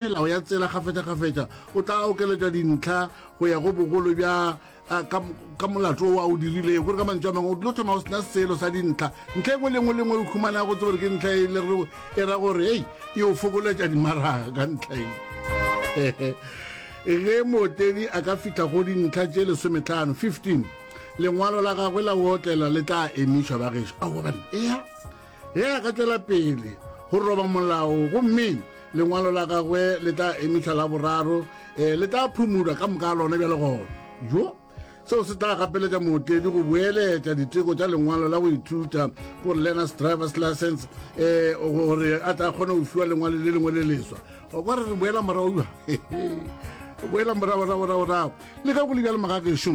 Melao ya tsela kgafetšakgafetša o tla okeletšwa dintlha go ya go bogolo bja ka, ka molato wo a o dirilego. Gore ka mantšu a mangwe o tlo thoma o sena selo sa dintlha. Ntlha e nngwe le nngwe le nngwe o humanago tsebe gore ke ntlha e le re e ra gore hei e o fokoletša dimaraga ka ntlha e. Ge mootledi a ka fihla go dintlha tše lesometlhano, 15, lengwalo la gagwe la go otlela le tla emišwa bagešo. Aowa banna, ea. Ge a ka tšwela pele go roba molao gomme lengwalo la gagwe le tla emišwa la boraro, eh, le tla phumulwa ka moka ga lona bjale gona. Jo! Seo se tla gapeletša mootledi go boeletša diteko tša lengwalo la go ithuta gore learner's driver's license eh, gore a tla kgone go fiwa lengwalo le lengwe le leswa. O kwa re re boela morago boela morago morago morago le ge go le bjalo magagešo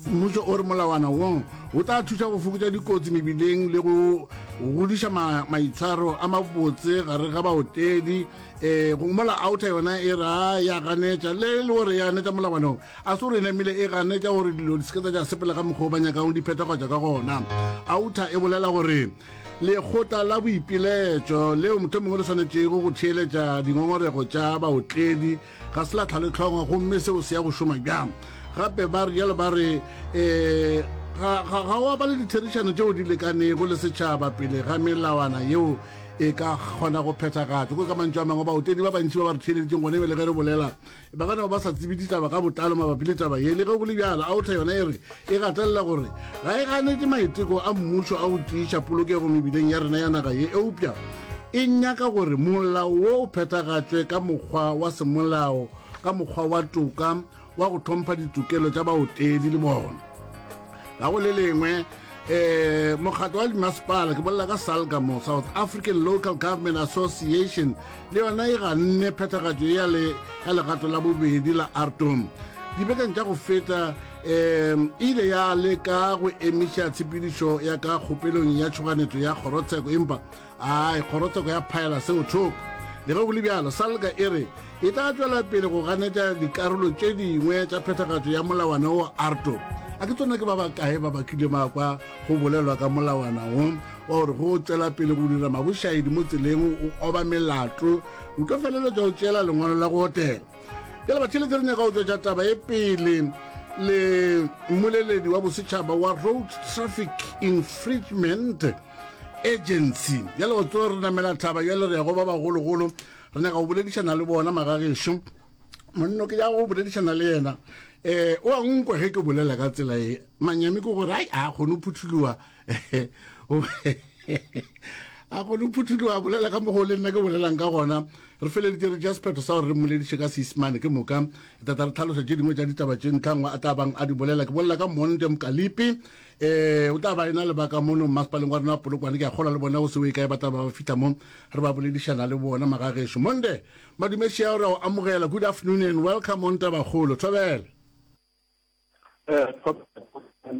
mmušo o re molawana wo o tla thuša go fokotša dikotsi mebileng le go godiša maitshwaro a mabotse gare ga baotledi um go mola outer yona e ra ya ganetša le le gore ya ganetša molawana wo a se gore e namile e ganetša gore dilo di se ke tsa tša sepela ka mokgwa o ba nyakang di phethagatša ka gona outer e bolela gore lekgotla la boipiletšo leo motho mongwe le swanetšego go theeletša dingongorego tša baotledi ga se la tlhaletlhongwa gomme seo se ya go šoma bjang gape ba rialo ba re um ga ga wa ba le ditherišano tšeo di lekanego le setšhaba pele ga melawana yeo e ka kgona go phethagatšwa ko ka mantšu a mangwe baotledi ba bantši ba ba re theeleditseng gone bjale ge re bolela ba ka no ba sa tsebe ditaba ka botlalo mabapi le taba ye le ge go le bjalo outa yona e re e gatelela gore ga e ganetše maiteko a mmušo a go tiiša polokego mebileng ya rena ya naga ye eupša e nyaka gore molao wo o phethagatšwe ka mokgwa wa semolao ka mokgwa wa toka wa go hlompha ditokelo tša baotledi le bona ga go le lengwe eh mokgatlo wa dimasepala ke bolela ka salga mo south african local government association le yona e ganne phethagatšo ya le ya legato la bobedi la artom dibekeng tša go feta um e ile ya leka go emiša tshepedišo ya ka kgopelong ya tšhoganetšo ya kgorotsheko empa Ai, kgorotsheko ya phaela seo thoko. Le ge go le bjalo, Salga e re e tla tšwela pele go ganetša dikarolo tše dingwe tša phethagatšo ya molawana wo ARTO. A ke tsona ke ba bakae ba ba kile ba kwa go bolelwa ka molawana wo wa gore go tšwela pele go dira mabošaedi mo tseleng o oba melato o tlo feleletša o tšeela lengwalo la go otela. Bjale batheeletši re nyaka go tšwetša taba e pele le mmoleledi wa bosetšhaba wa Road Traffic Infringement Agency. Bjale go tsoge re namela thaba bjale re ya go ba bagologolo, re nyaka go boledišana le bona magagešo. Monno ke ya go boledišana le yena eh o a nkwe ge ke bolela ka tsela e manyami ke gore ai a kgone go phuthuloga a kgone go phuthuloga a bolela ka mokgwa o le nna ke bolelang ka gona re feleditše re tšea sephetho sa gore re mmolediše ka seisemane ke moka tata re tlhalosa tše dingwe tša ditaba tše ntlhangwe a tla bang a di bolela ke bolela ka monde mokalipi Ee, o tla ba ena le ba ka mono mmasepaleng wa rena wa Polokwane. Ke a kgolwa le bona go se o e kae ba tla ba ba fihla mo re ba boledišana le bona magagešo. Monde, madume šea re a o amogela. Good afternoon and welcome on Tabakgolo. Thobela. Eh,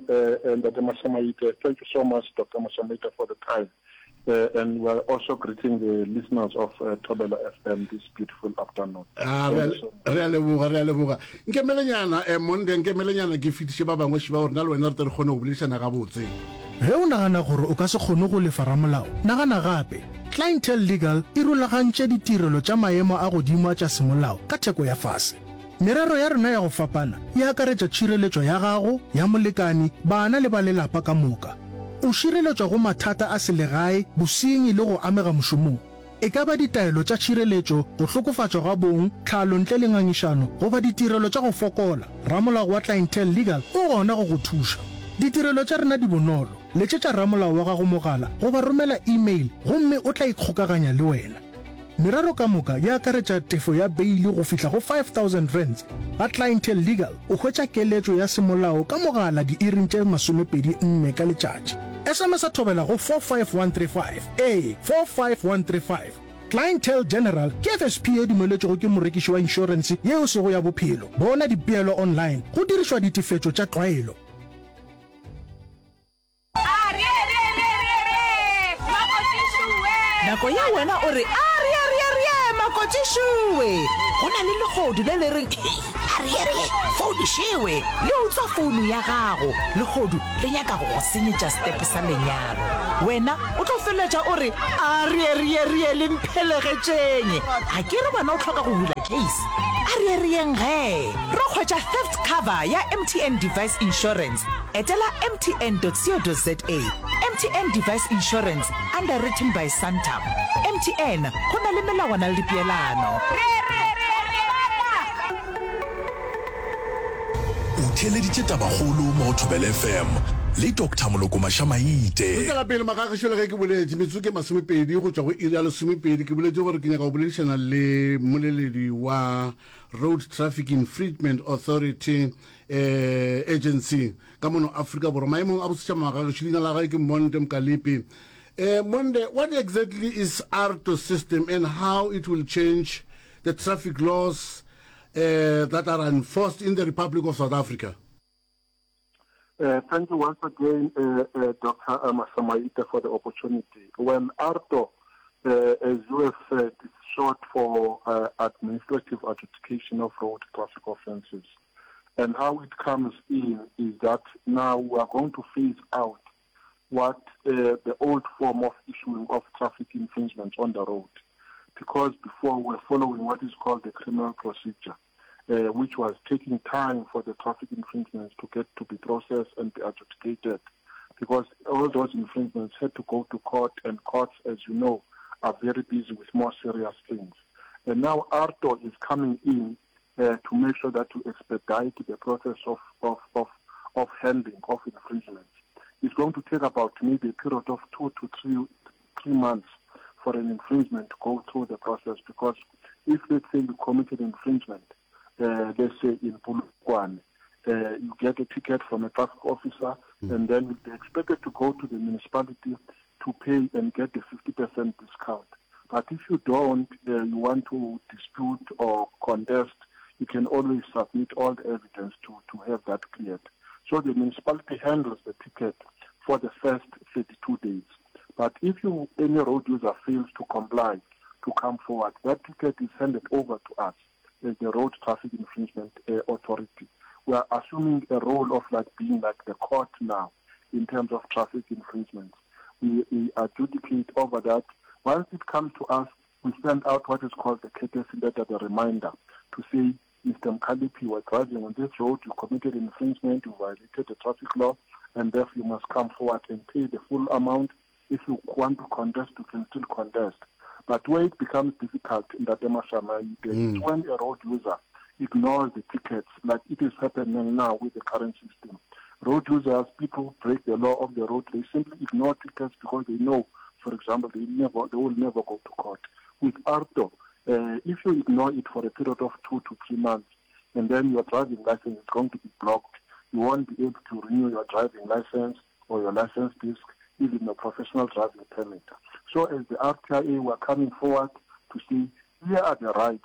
eh, eh, Ntate Mashamaite, thank you so much, Dr. Mashamaite, for the time. Uh, and we are also greeting the listeners of uh, Thobela FM this beautiful afternoon. Ah, re a leboga, re a leboga. Nkemelenyana, eh, Monde, nkemelenyana ke fetiše ba bangwe šiba gore na le wena re tle re kgone go boledišana gabotse. Ge o nagana gore o ka se kgone go lefa ramolao, nagana gape. Clientele Legal e rulagantše ditirelo tša maemo a godimo a tša semolao ka theko ya fase. Merero ya rena ya go fapana e akaretša tšhireletšo ya gago, ya molekani, bana le ba lelapa ka moka. O šireletšwa go mathata a selegae, bosenyi le go amega mošomong. E ka ba ditaelo tša tšhireletšo, go hlokofatšwa ga bong, tlhalo ntle le ngangišano goba ditirelo tša go fokola, ramolao wa Clientele Legal o gona go go thuša. Ditirelo tša rena di bonolo, letšetša ramolao wa gago mogala goba romela email gomme o tla ikgokaganya le wena. Merero ka moka e akaretša tefo ya beili go fihla go R5000. Ga Clientele Legal o hwetša keletšo ya semolao ka mogala diiring tše 24 ka letšatši. SMS-a thobela go 45135, ee, 45135. Clientele General ke FSP ye dumeletšwego ke morekiši wa inšorense ye e sego ya bophelo. Bona dipeelo online go dirišwa ditefetšo tša tlwaelo. Nako ye wena o re, Arearearee, Makoti! Ngwanešu we! Go na le lehodu le le reng, Hei, aree-ree, founu šewe! Le utswa founu ya gago. Lehodu le nyaka go go senyetša setepe sa lenyalo. Wena o tlo feleletša o re, Aree-ree-ree, le mphelegetšeng! A ke re wena o hloka go bula case? Aree-reeng gee! Ro hwetša theft cover ya MTN Device Insurance. Etela mtn.co.za. MTN Device Insurance, underwritten by Santam. MTN, go na le melawana le dipeelano. O theeleditše Tabakgolo mo go Thobela FM le Doctor Moloko Mašamaite. Re tšwela pele magagešo le ge ke boletše metsotso ke masomepedi go tšwa go iri ya lesomepedi ke boletše gore ke nyaka go boledišana le mmoleledi wa Road Traffic Infringement Authority eh, Agency ka mono Afrika Borwa maemong a bosetšhaba magagešo leina la gae ke Monde Mkalipi eh, Monde what exactly is ARTO system and how it will change the traffic laws uh, that are enforced in the Republic of South Africa? Uh, thank you once again, uh, uh, Dr. Masamaite, for the opportunity. When ARTO, uh, as you have said, is short for uh, Administrative Adjudication of Road Traffic Offences. And how it comes in is that now we are going to phase out what uh, the old form of issuing of traffic infringements on the road. Because before we were following what is called the criminal procedure, uh, which was taking time for the traffic infringements to get to be processed and be adjudicated. Because all those infringements had to go to court, and courts, as you know, are very busy with more serious things. And now ARTO is coming in uh, to make sure that to expedite the process of, of, of, of handling of infringements. It's going to take about maybe a period of two to three, three months for an infringement to go through the process because if let's say you committed infringement, uh, let's say in Polokwane, uh, you get a ticket from a traffic officer mm. and then you'll be expected to go to the municipality to pay and get the 50% discount. But if you don't, uh, you want to dispute or contest, you can always submit all the evidence to, to have that cleared. So the municipality handles the ticket for the first 32 days. But if you, any road user fails to comply, to come forward, that ticket is handed over to us as the Road Traffic Infringement uh, Authority. We are assuming a role of like being like the court now in terms of traffic infringements. We, we adjudicate over that. Once it comes to us, we send out what is called the courtesy letter, the reminder, to say, Mr. Mkalipi, you were driving on this road, you committed infringement, you violated the traffic law, and therefore you must come forward and pay the full amount. If you want to contest, you can still contest. But where it becomes difficult in that Mashama, mm. is when a road user ignores the tickets, like it is happening now with the current system. Road users, people break the law of the road, they simply ignore tickets because they know, for example, they never, they will never go to court. With ARTO, uh, if you ignore it for a period of two to three months, and then your driving license is going to be blocked, you won't be able to renew your driving license or your license disc, even your professional driving permit. So as the RTIA, we're coming forward to see here are the rights,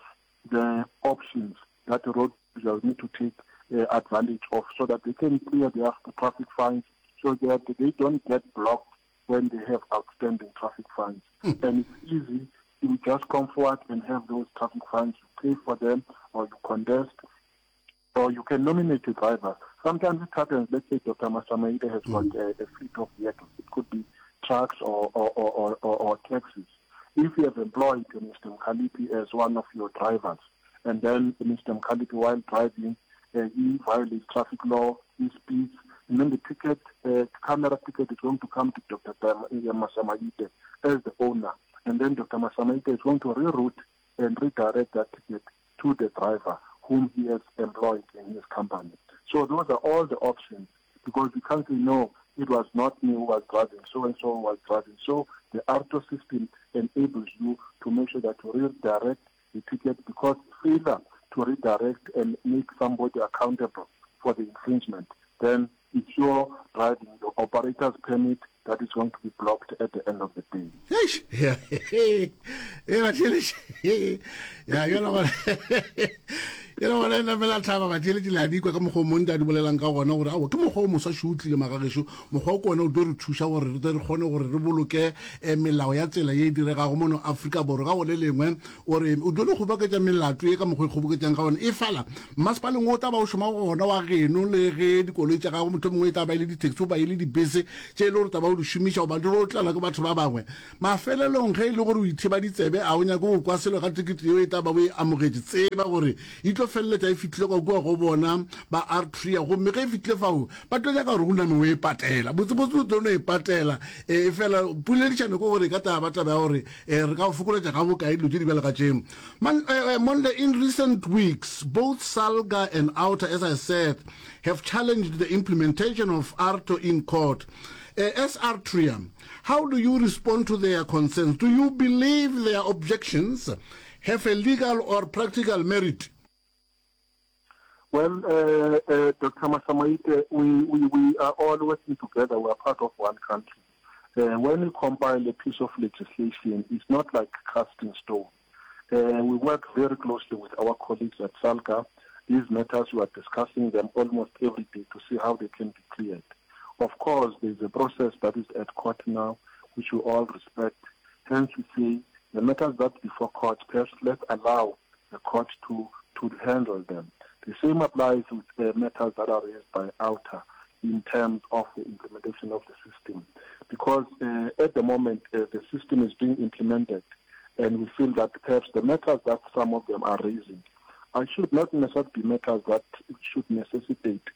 the options that the road users need to take uh, advantage of so that they can clear their traffic fines so that they don't get blocked when they have outstanding traffic fines. Mm. And it's easy. You just come forward and have those traffic fines. You pay for them or you contest or you can nominate a driver. Sometimes it happens, let's say Dr. Masamaide has mm. got a, a fleet of vehicles. It could be trucks or, or, or, or, or taxis. If you have employed Mr. Mkhalipi as one of your drivers, and then Mr. Mkhalipi, while driving, uh, he violates traffic law, he speeds, and then the ticket, uh, camera ticket is going to come to Dr. Masamaite as the owner. And then Dr. Masamaite is going to reroute and redirect that ticket to the driver whom he has employed in his company. So those are all the options because we can't say, no, it was not me who was driving, so and so was driving. So the ARTO system enables you to make sure that you redirect the ticket because failure to redirect and make somebody accountable for the infringement, then it's your driving, your operator's permit that is going to be blocked at the end of the day. Eish, ya, e batheletše. Ya, yona gore. Yena gona e namela tlhaba batheeletši le a di kwa ka mokgwa o mong a di bolelang ka gona gore aowa ke mokgwa o moswa šo o tlile magagešo. Mokgwa o ke wona o tlo re thuša gore re tle re kgone gore re boloke eh, melao ya tsela ye e diregago mono Afrika Borwa. Ka go le lengwe o re o tlo no kgoboketša melato ye ka mokgwa e kgoboketšang ka gona e fela mmasepaleng o tla ba o šoma go gona wa geno le ge dikoloi tša gago mohlomongwe e tla ba e le di-taxi goba e le dibese tše e le gore tla ba o di šomiša goba di ro tlelwa ke batho ba bangwe. Mafelelong, ge e le gore o ithiba ditsebe, a o nyake go kwa selo ka tekete yeo e tla ba o e amogetše, tseba gore e tlo feleletša e fihlile ka kua go bona ba Artria, gomme ge e fihlile fao, ba tlo nyaka gore o name o e patela. Botsebotse o tlo no e patela. Efela poledišano ke gore e ka tla ba taba ya gore re ka go fokoletša ga bokae dilo tše di bjalo ka tše. Man, Monde, in recent weeks, both Salga and Outa, as I said, have challenged the implementation of AARTO in court. As Artria, How do you respond to their concerns? Do you believe their objections have a legal or practical merit? Well, uh, uh, Dr. Masamaite, we, we, we are all working together. We are part of one country. Uh, when we compile a piece of legislation, it's not like casting stone. Uh, we work very closely with our colleagues at SALGA. These matters, we are discussing them almost every day to see how they can be cleared. Of course, there is a process that is at court now, which we all respect. Hence, we say the matters that before court, perhaps let's allow the court to, to handle them. The same applies with the matters that are raised by OUTA in terms of the implementation of the system. Because uh, at the moment, uh, the system is being implemented, and we feel that perhaps the matters that some of them are raising uh, should not necessarily be matters that should necessitate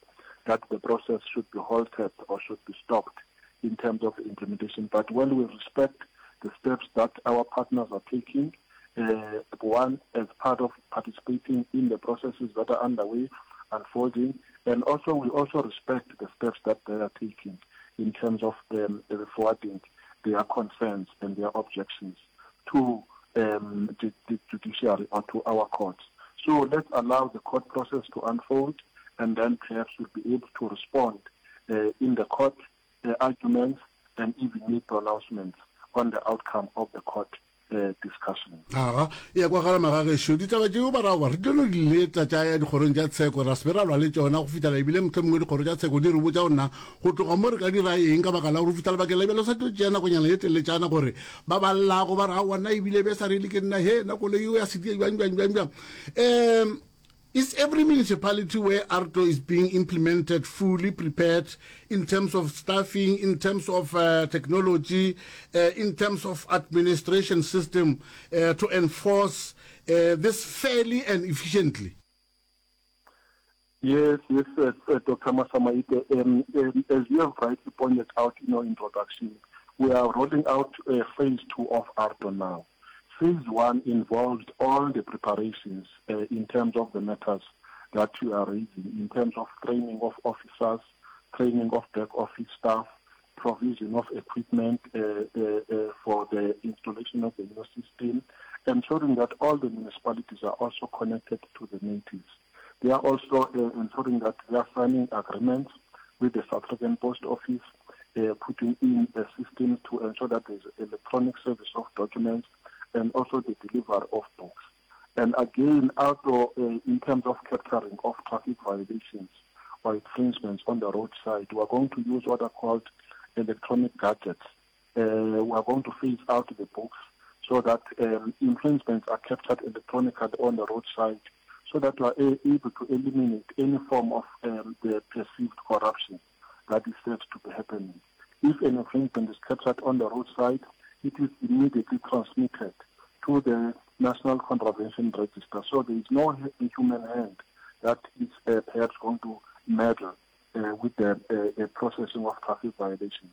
that the process should be halted or should be stopped in terms of implementation. But when we respect the steps that our partners are taking, uh, one, as part of participating in the processes that are underway, unfolding, and also we also respect the steps that they are taking in terms of um, forwarding their concerns and their objections to um, the, the judiciary or to our courts. So let's allow the court process to unfold, and then perhaps we'll be able to respond uh, in the court uh, arguments and even make pronouncements on the outcome of the court uh, discussion. Aga, e ya kwagala magagešo, ditaba tšeo ba ra re tlo no di leta tša ya dikgorong tša tsheko, ra se be ra lwa le tšona go fihlela ebile mohlomongwe dikgoro tša tsheko di re botša gore na go tloga mo re ka dira eng ka baka la gore go fihla lebakeng la bjale sa tlo tšea nakonyana ye teletšana gore ba ba llago ba re aowa nna ebile be sa rele ke nna he nna koloi eo ya sedia bjang bjang bjang bjang. Um Is every municipality where AARTO is being implemented fully prepared in terms of staffing, in terms of uh, technology, uh, in terms of administration system uh, to enforce uh, this fairly and efficiently? Yes, yes, uh, uh, Dr. Masamaite. Um, um, as you have rightly pointed out in your introduction, we are rolling out uh, phase two of AARTO now. Phase one involved all the preparations uh, in terms of the matters that you are raising, in terms of training of officers, training of back office staff, provision of equipment uh, uh, uh, for the installation of the new system, ensuring that all the municipalities are also connected to the natives. They are also uh, ensuring that they are signing agreements with the South African Post Office, uh, putting in a system to ensure that there's electronic service of documents and also the delivery of books. And again, also uh, in terms of capturing of traffic violations or infringements on the roadside, we are going to use what are called electronic gadgets. Uh, we are going to phase out the books so that um, infringements are captured electronically on the roadside so that we are able to eliminate any form of um, the perceived corruption that is said to be happening. If an infringement is captured on the roadside, it is immediately transmitted to the National Contravention Register. So there is no human hand that is uh, perhaps going to meddle uh, with the uh, uh, processing of traffic violations.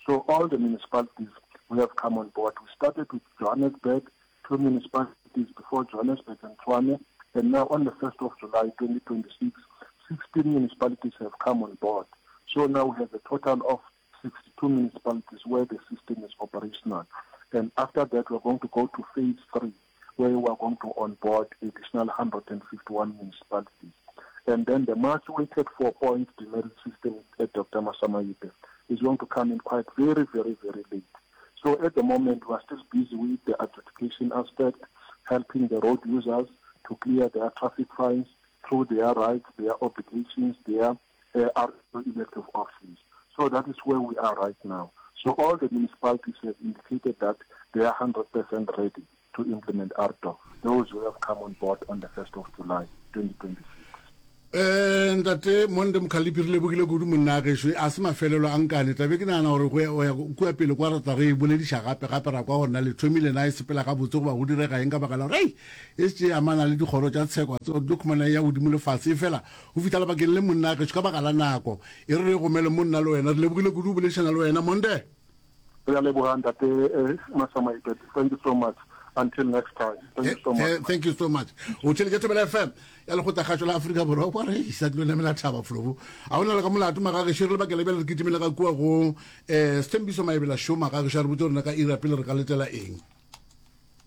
So all the municipalities we have come on board. We started with Johannesburg, two municipalities before Johannesburg and Tshwane, and now on the 1st of July 2026, 16 municipalities have come on board. So now we have a total of 62 municipalities where the system is operational. And after that, we're going to go to phase three, where we are going to onboard additional 151 municipalities. And then the much weighted four-point demerit system at Dr. Masamaite is going to come in quite very, very, very late. So at the moment, we are still busy with the adjudication aspect, helping the road users to clear their traffic fines, through their rights, their obligations, their uh, elective options. So that is where we are right now. So all the municipalities have indicated that they are 100% ready to implement ARTO, those who have come on board on the 1st of July 2026. Eh, ntate Monde Mkhalipi re lebogile kudu monna gešo a se mafelelo a nkane tlabe ke nagana gore go ya- go ya kua pele kwa re tla re e bolediša gape gape ra kwa gore na le thomile na e sepela gabotse goba go direga eng ka baka la gore ei e se e amana le dikgoro tša tsheko a tseba tlo khumana e ya godimo le fase efela go fihla lebakeng le monna gešo ka baka la nako e re re gomele mo nna le wena re lebogile kudu go boledišana le wena Monde Re a leboga ntate eh, Masamaite. Thank you so much. Until next time. Thank you so much. Eh, thank you so much. O theletše Thobela FM ya lekgotlakgašo la Afrika Borwa kwa re isa dilo namela thaba flobo. A ona le ka molato magageši re lebakela bjale re kitimele ka kua go eh Sthembiso Maebela Show magageši a re botse rena ka ira pele re ka letela eng.